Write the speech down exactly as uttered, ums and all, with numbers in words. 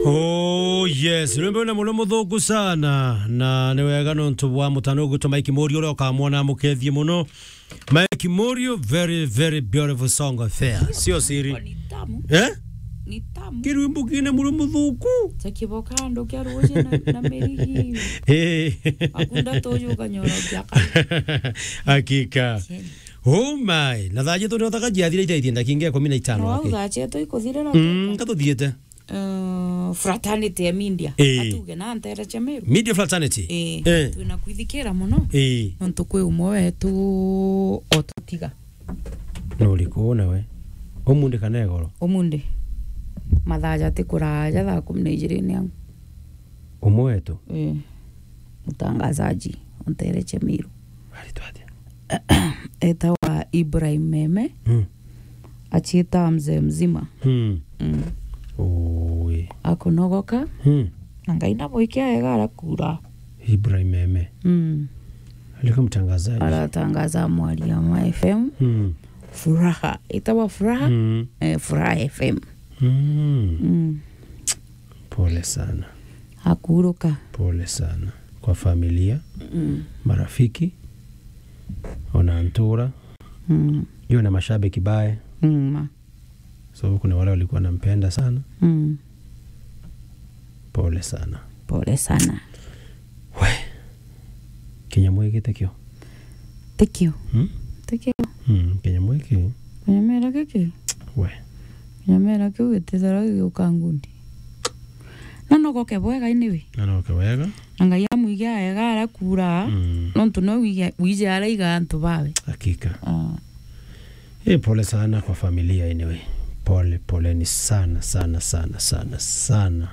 Oh yes, rwimbo na muno muthuku sana, na ni wega nontu bwa mutano gwitwa Mike Morio uria ukamwona amukethie muno. Mike Morio, very, very beautiful song affair. Sio siri. Ni tamu. Eh? Ni tamu. Kirwimbo kina muno muthuku. Cha kiboka andu kia ruji na, na merigi. Eh. Akunda tuju kanyoro kia ka. Hakika. Cheni. Oh my. Na thaa cietu ni utaka ciathira ithaithie ndakika ikumi na itano. No, aki. Thaa cietu ikuthirira. Mm, katuthiete. Uh, fraternity ya media. Ii. Atuge na ntere cha Meru. Media fraternity? Ii. Eh. Twina kwithikira muno. Ii. Nontu kwi umwe wetu otutiga. Nuriku nawe? Umundi kana igoro? Umundi. Mathaa jati kuraja thaa kumi na ijiri ni au. Umwe wetu? Ii. Mutangazaji, ontere cha Meru. Aritwa atia? Etawa Ibrahim Meme. Mm. Achieta mzee mzima. Mm. Mm. Ui. Akunogoka. Mm. Na Ngai na boikia ega arakura. Ibrahim Meme. Mm. Alikuwa mtangazaji. Aratangaza Mwaliama F M. Mm. Furaha. Etawa Furaha. Mm. Eh, Furaha F M. Mm. Mm. Pole sana. Akuruka. Pole sana. Kwa familia, mm, marafiki, ona ntura. Mm. Hiyo na mashabiki bae. Mm, ma. So kuna wale walikuwa wanampenda sana. Mm. Pole sana. Pole sana. We. Kinyamwiki tekio. Tekio. Hmm? Tekio. Hmm, kinyamwiki. Kinyamera kiki. We. Kinyamera kiu gitithara giuka ngundi. Na nogoke bwega anyway. Na nogoke bwega. Na Ngai amwige aega arakura. Mm. Nontu no wije, wije araiga antu bawe. Hakika. Ah. Eh, pole sana kwa familia anyway. Pole, poleni sana, sana, sana, sana, sana.